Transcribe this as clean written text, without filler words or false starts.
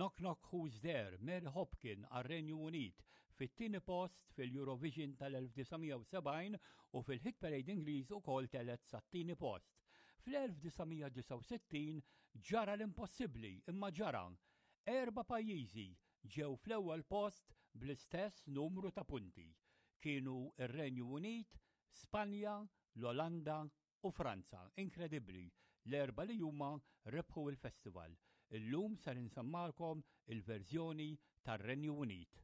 Knock Knock Who's There, Mary Hopkin għar-Renju Unit fit-tieni post fil-Eurovision tal-1970 u fil-Hit Parade Ingliż ukoll telgħet sat-tieni post. Fl-1969 ġara l-impossibbli imma ġara. Erba' pajjiżi ġew fl-ewwel post bl-istess numru ta' punti. Kienu r-Renju Unit, Spanja, l-Olanda u Franza. Inkredibbli, l-erbgħa li huma rebħu l-festival. Illum ser insemmalkom il-verżjoni tar-Renju Unit.